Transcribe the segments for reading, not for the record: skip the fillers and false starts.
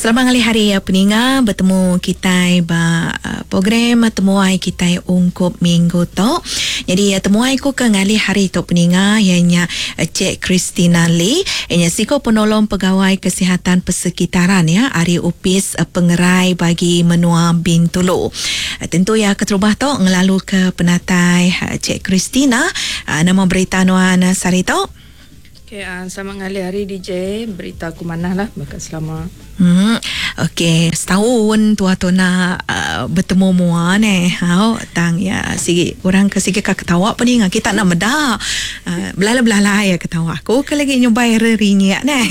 Selamat ngalih hari peninga betemu kitai ba program temuai kitai ungkup minggu tu. Nyadi temuai ku ke ngalih hari tu peninga iya nya Cik Christina Lee iya nya siku penolong pegawai kesihatan persekitaran ya ari Opis Pengerai Bagi Menua Bintulu. Tentu iya keterubah tu ngelalu ke penatai Cik Christina. Nama berita nuan sehari tu? Okay, selamat ngalih hari DJ. Berita aku manah lah baka selama. Okey, setahun tua tu nak betemu mua neh. Au tang iya sigi orang ke sigi ka ketawa pun ninga kita nak meda. Belalai-belalai iya ketawa aku ke lagi nyubai rerinyik neh.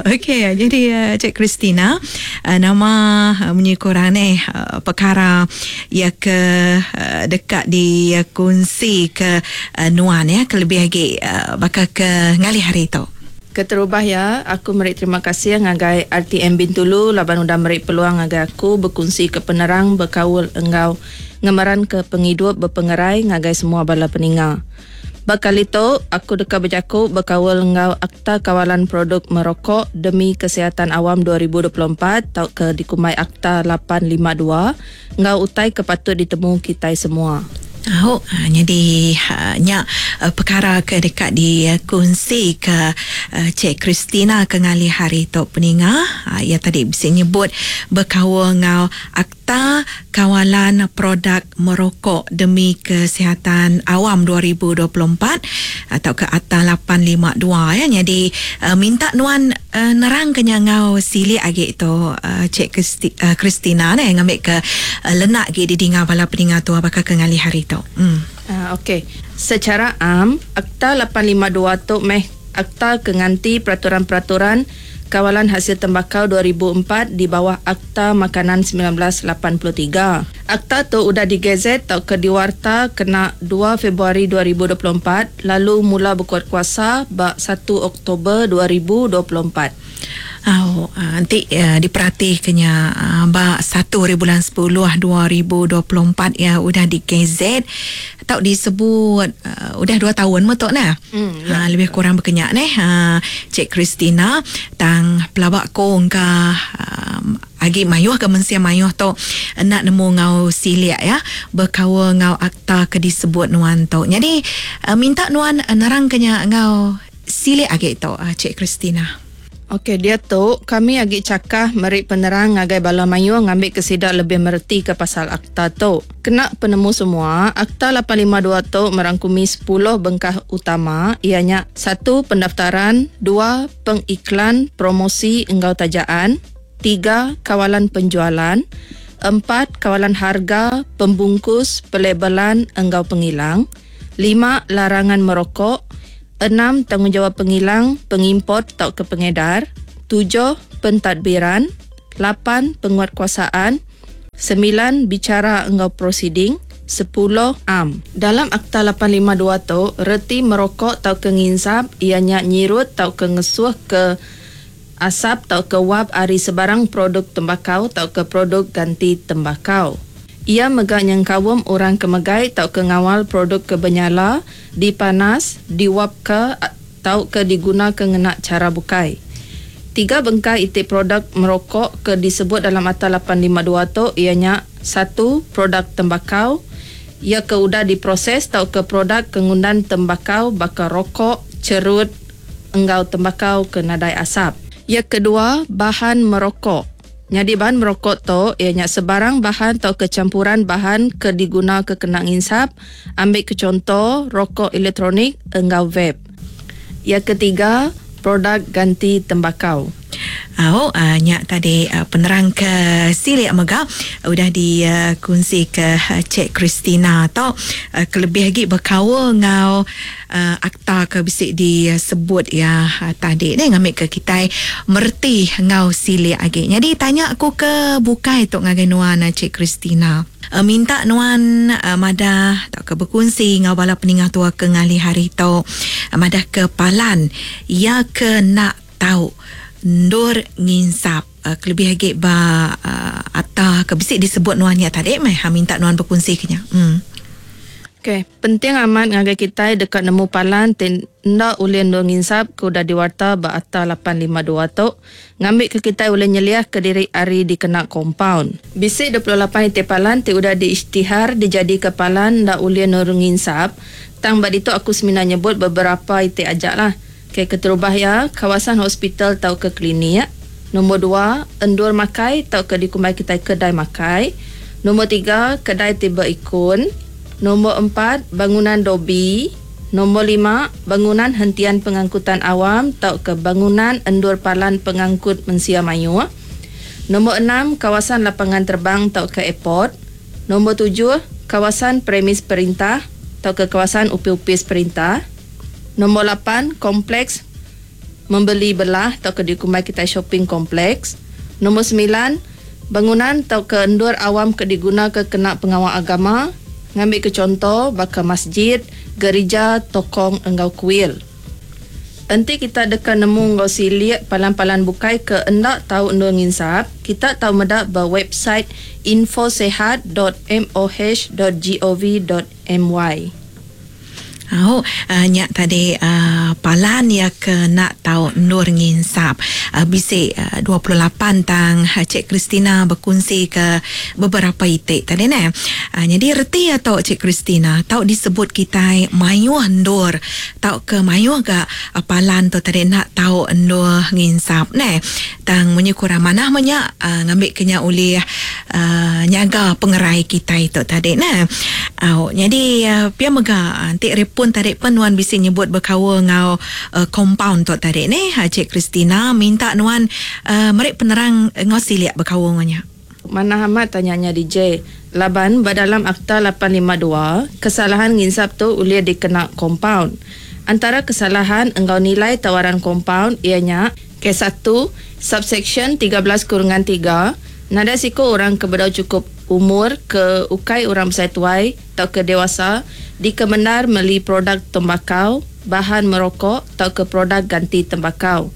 Okey, jadi Cik Christina nama munyi ku orang neh pekara iya ke deka dikunsi ke nuan ya kelebih agi baka ke ngalih hari tu. Keterubah iya, aku meri terima kasih ngagai RTM Bintulu laban udah meri peluang ngagai aku bekunsika penerang bekaul enggau ngemeranka pengidup bepengerai ngagai semua bala peninga. Ba kali tu, aku deka bejaku bekaul enggau Akta Kawalan Produk Merokok Demi Kesihatan Awam 2024 tauka dikumbai Akta 852 enggau utai ke patut ditemu kitai semua. Au, nyadi nya pekara ke deka dikunsika Cik Christina ke ngalih hari tu peninga. Iya tadi bisi nyebut bekaul enggau Akta Kawalan Produk Merokok Demi Kesihatan Awam 2024 tauka Akta 852 ya. Nyadi minta nuan Nerangka nya enggau silik agi tu Cik Christina neh ngambika lenak agi didinga bala peninga tua baka ke ngalih hari tu. Okey. Sechara am, Akta 852 tu meh akta ke nganti peraturan-peraturan Kawalan Hasil Tembakau 2004 di bawah Akta Makanan 1983. Akta tu udah digazet tauka diwarta kena dua Februari 2024 lalu mula bekuat kuasa ba satu Oktober 2024. Au, enti diperatika nya ba satu hari bulan sepuluh 2024 iya udah digazet tau disebut udah dua taun meh tu neh. Ha lebih kurang baka nya neh Cik Christina tang pelaba ku engka agi mayuh ga mensia mayuh tu enda nemu enggau silik iya bekaul enggau akta ke disebut nuan tu. Nyadi minta nuan nerangka nya enggau silik agi tu Cik Christina. Ok diatu kami agi chakah meri penerang ngagai bala mayuh ngambika sida lebih meretika pasal akta tu. Kena penemu semua, Akta 852 tu merangkumi sepuluh bengkah utama iya nya, satu pendaftaran, dua pengiklan, promosi enggau tajaan, tiga kawalan penjualan, empat kawalan harga, pembungkus, pelabelan enggau pengilang, lima larangan merokok, enam tanggungjawab pengilang, pengimport tauka pengedar, tujuh pentadbiran, lapan penguatkuasaan, semilan bicara enggau prosiding, sepuluh am. Dalam Akta 852 tu, reti merokok tauka nginsap iya nya nyirut tauka ngesuh ke asap tauka wap ari sebarang produk tembakau tauka produk ganti tembakau. Iya mega nyengkaum orang ke megai tauka ngawal produk ke benyala, dipanas, diwapka tauka digunaka ngena chara bukai. Tiga bengkah iti produk merokok ke disebut dalam Akta 852 tu iya nya, satu produk tembakau, iya ke udah diproses tauka produk ke ngundan tembakau baka rokok, cherut, enggau tembakau ke nadai asap. Iya kedua, bahan merokok. Nyadi bahan merokok tu iya nya sebarang bahan tauka campuran bahan ke diguna ke kena nginsap, ambi ke chunto rokok elektronik enggau vape. Iya ketiga, produk ganti tembakau. Au, nya tadi penerang ke silik mega udah dikunsi ke Cik Christina tu kelebih agi bekaul enggau akta ke bisi disebut iya tadi neh ngambika kitai mereti enggau silik agi. Nyadi tanya ku ke bukai tu ngagai nuan Cik Christina. Minta nuan madah tauka bekunsi enggau bala peninga tua ke ngalih hari tu madah ke palan iya ke enda tau endur nginsap kelebih agi ba akta ke bisi disebut nuan nya tadi meh minta nuan bekunsi ke nya. Okey, penting amat ngagai kitai deka nemu palan ti enda ulih endur nginsap ke udah diwarta ba Akta 852 tu ngambika kitai ulih nyeliahka diri ari dikena kompaun. Bisi 28 iti palan ti udah diisytihar dijadika palan enda ulih endur nginsap tang ba ditu aku semina nyebut beberapa iti aja lah. Okey, keterubah iya, kawasan hospital tauka klinik. Nombor dua, endur makai tauka dikumbai kitai kedai makai. Nombor tiga, kedai ti beikon. Nombor empat, bangunan dobi. Nombor lima, bangunan hentian pengangkutan awam tauka bangunan endur palan pengangkut mensia mayuh. Nombor enam, kawasan lapangan terbang tauka airport. Nombor tujuh, kawasan premis perintah tauka kawasan upis-upis perintah. Nombor lapan, kompleks membeli belah tauka dikumbai kitai shopping complex. Nombor semilan, bangunan tauka endur awam ke digunaka kena pengawa agama, ngambika chunto baka masjid, gerija, tokong enggau kuil. Enti kita deka nemu enggau silik palan-palan bukai ke enda tau endur nginsap, kita tau meda ba website infosehat dot moh dot gov dot my. Au, nya tadi palan iya ke enda tau endur nginsap. Bisi 28 tang Cik Christina bekunsi ke beberapa iti tadi neh. Nyadi reti iya tu Cik Christina tau disebut kitai mayuh endur tauka mayuh ga palan tu tadi enda tau endur nginsap neh. Tang munyi kurang manah meh nya ngambika nya ulih nyaga pengerai kitai tu tadi neh. Au nyadi pia mega enti repun tadi pen nuan bisi nyebut bekaul enggau compound tu tadi neh Cik Christina minta nuan meri penerang enggau silik bekaul enggau nya. Manah amat tanya nya DJ. Laban ba dalam Akta 852, kesalahan nginsap tu ulih dikena kompaun. Antara kesalahan enggau nilai tawaran kompaun iya nya. Kes satu, Subseksyen 13 kurungan tiga, nadai siku orang ke bedau chukup umur ke ukai orang besai tuai tauka dewasa dikemendar meli produk tembakau, bahan merokok tauka produk ganti tembakau.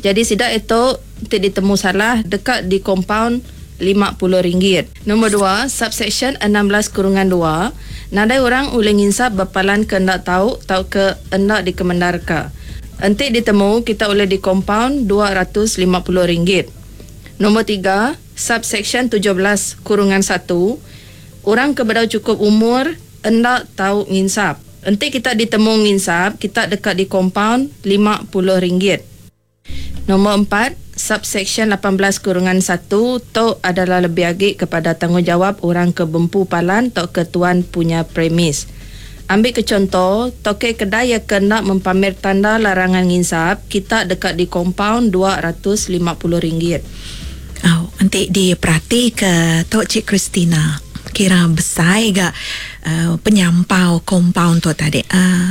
Jadi sida itu ti ditemu salah deka dikompaun 50 ringgit. Nombor dua, Subseksyen 16 kurungan dua, nadai orang ulih nginsap ba palan ke enda tau tauka enda dikemendarka. Enti ditemu, kita ulih dikompaun 250 ringgit. Nombor tiga, Subseksyen 17 kurungan satu, orang ke bedau chukup umur enda tau nginsap. Enti kita ditemu nginsap, kita deka dikompaun 50 ringgit. Nombor empat, Subseksyen 18 kurungan satu tu adalah lebih agi kepada tanggungjawab orang ke bempu palan tauka tuan punya premis. Ambi ke chunto, tokey kedai iya ke enda mempamer tanda larangan nginsap, kita deka dikompaun 250 ringgit. Au, enti diperatika tu Cik Christina, kira besai ga penyampau kompaun tu tadi.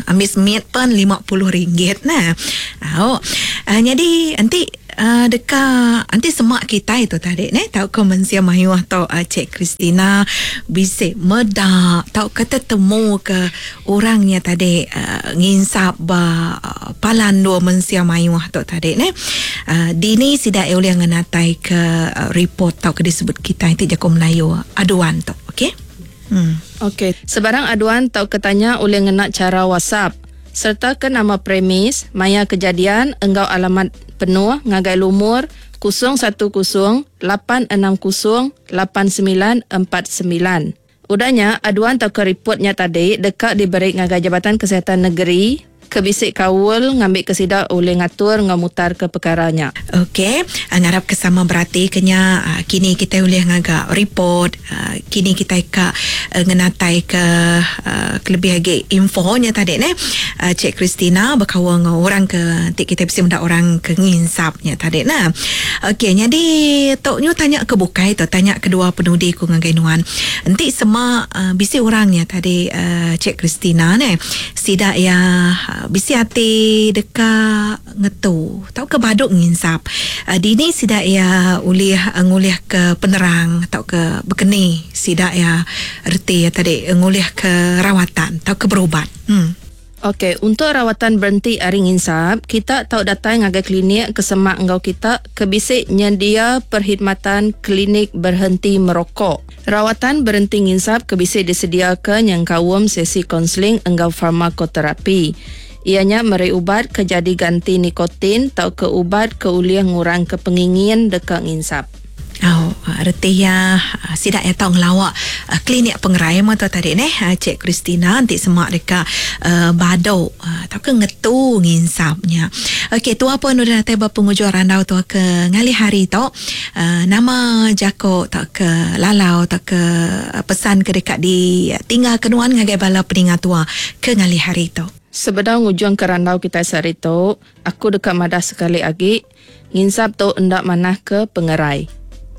Ambi semit pen 50 ringgit nah. Au, nyadi enti deka enti sema kitai tu tadi neh tauka mensia mayuh tu Cik Christina bisi meda tauka tetemu ke orang nya tadi nginsap ba palan endur mensia mayuh tu tadi neh. Dini sida iya ulih ngenatai ke report tauka disebut kitai ti jaku Melayu aduan tu okey. Hmm. Okey, sebarang aduan tauka tanya ulih ngena chara WhatsApp sereta ke nama premis, maya kejadian enggau alamat penuh ngagai lumur 010 860 8949. Udah nya, aduan tauka ripot nya tadi deka diberi ngagai Jabatan Kesihatan Negeri ke bisi kaul ngambika sida ulih ngatur enggau mutarka pekara nya. Ok, ngarapka sama beratika nya, kini kitai ulih ngaga report, kini kitai ka ngenataika kelebih agi info nya tadi neh. Cik Christina bekaul enggau orang ke enti kitai bisi meda orang ke nginsap nya tadi neh. Ok, nyadi tu nyu tanya ke bukai tu, tanya kedua penudi ku ngagai nuan. Enti sema bisi orang nya tadi Cik Christina neh. Sida iya bisi ati deka ngetu tauka badu nginsap. Dini sida iya ulih ngulihka penerang tauka bekeni sida iya reti iya tadi ngulihka rawatan tauka berubat. Okey, untuk rawatan berhenti ari nginsap, kita tau datai ngagai klinik ke semak enggau kita ke bisi nyendia perkhidmatan klinik berhenti merokok. Rawatan berhenti nginsap ke bisi disediaka nyengkaum sesi kaunseling enggau farmakoterapi. Iya nya meri ubat ke jadi ganti nikotin tauka ubat ke ulih ngurangka pengingin deka nginsap. Au, reti iya sida iya tau ngelawa klinik pengerai meh tu tadi neh Cik Christina enti sema deka badu tauka ngetu nginsap nya. Okey tua pun udah datai ba pengujung randau tua ke ngalih hari tu. Nama jaku tauka lalau tauka pesan ke deka ditinggalka nuan ngagai bala peninga tua ke ngalih hari tu? Sebedau ngujungka randau kitai sehari tu, aku deka madah sekali agi, nginsap tu enda manah ke pengerai.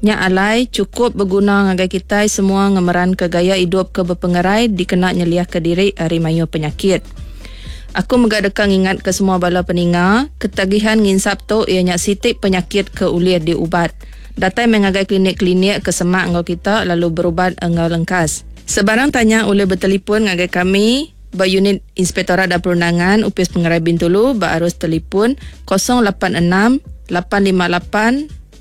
Nya alai, chukup beguna ngagai kitai semua ngemeranka gaya idup ke bepengerai dikena nyeliahka diri ari mayuh penyakit. Aku mega deka ngingatka semua bala peninga, ketagihan nginsap tu iya nya siti penyakit ke ulih diubat. Datai meh ngagai klinik-klinik ke semak enggau kita lalu berubat enggau lengkas. Sebarang tanya ulih betelipun ngagai kami. Ba Unit Inspektorat dan Perundangan Opis Pengerai Bintulu ba arus telipun 086 858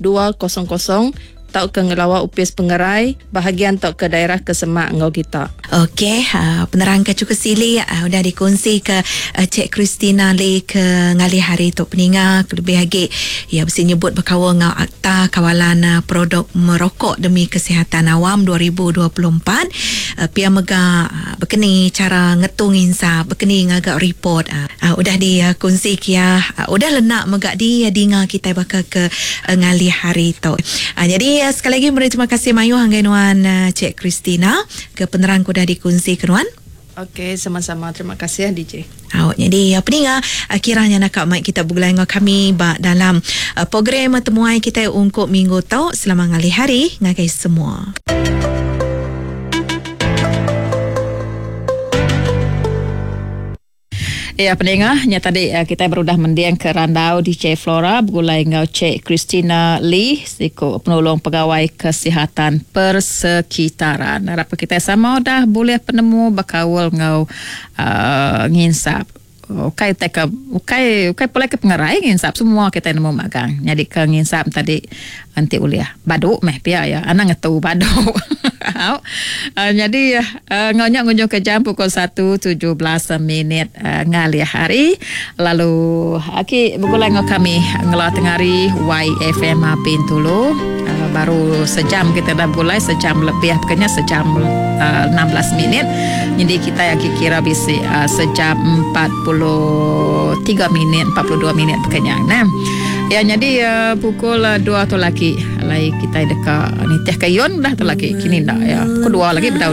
200 tauka ngelawa Opis Pengerai bahagian tauka daerah ke semak enggau kita. Okey, penerang ke chukup silik udah dikunsi ke Cik Christina Lee ke ngalih hari tu peninga kelebih agi iya bisi nyebut bekaul enggau Akta Kawalan Produk Merokok Demi Kesihatan Awam 2024. Pia mega bekeni chara ngetu nginsap, bekeni ngaga report udah dikunsi kia udah lenak mega didinga kitai baka ke ngalih hari tu. Nyadi sekali agi meri terima kasih mayuh ngagai nuan Cik Christina ke penerang ke udah dikunsi ke nuan. Okey sama-sama terima kasih DJ. Au nyadi peninga kira nya naka mai kita begulai enggau kami ba dalam program temuai kitai ungkup minggu tu selama ngalih hari ngagai semua. Ya peninga nya tadi kitai berudah mending ke randau DJ Flora begulai enggau Cik Christina Lee siku penulung pegawai kesihatan persekitaran. Arap ke kitai sama udah bulih penemu bekaul enggau uhh nginsap. Ukai utai ke ukai ukai pulai ke pengerai nginsap semua kitai nemu magang. Nyadi ke nginsap tadi enti ulih badu meh pia iya anang ngetu badu. Au nyadi enggau nya ngunjung ke jam pukul 1:17 minit ngalih hari lalu agi begulai enggau kami ngela tengari YFM Bintulu baru sejam kita dah begulai sejam lebih peka nya sejam 16 minit nyadi kitai agi kira bisi sejam 43 minit 42 minit peka nya nah. Ya nyadi pukul 2 tu lagi alai kitai deka nitih ke yun dah tu lagi kini enda ya pukul 2 lagi bedau.